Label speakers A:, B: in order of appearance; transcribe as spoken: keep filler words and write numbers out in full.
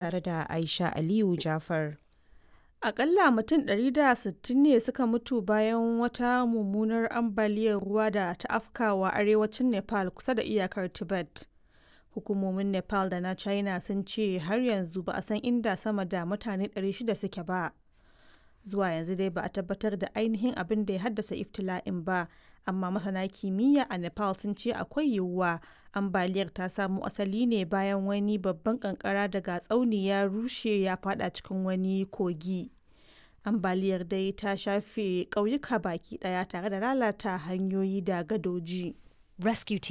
A: Tare da Aisha Aliyu Jafar.
B: Aƙalla mutum ɗari da sittin ne suka mutu bayan wata mummunar ambaliyar ruwa da ta afkawa arewacin Nepal kusa da iyakar Tibet. Hukumomin Nepal da na China sun ce har yanzu ba a san inda sama da mutane ɗari shida suke ba. Zuwa yanzu dai ba a tabbatar da ainihin abin da ya haddasa iftila'in ba, amma masana kimiyya a Nepal sun ce akwai yiwuwa ambaliyar ta samo asali ne bayan wani babban kankara daga tsauni ya rushe ya fada cikin wani kogi. Ambaliyar dai ta shafe ƙauyuka baki ɗaya tare da lalata hanyoyi da gadoji.
C: Rescue teams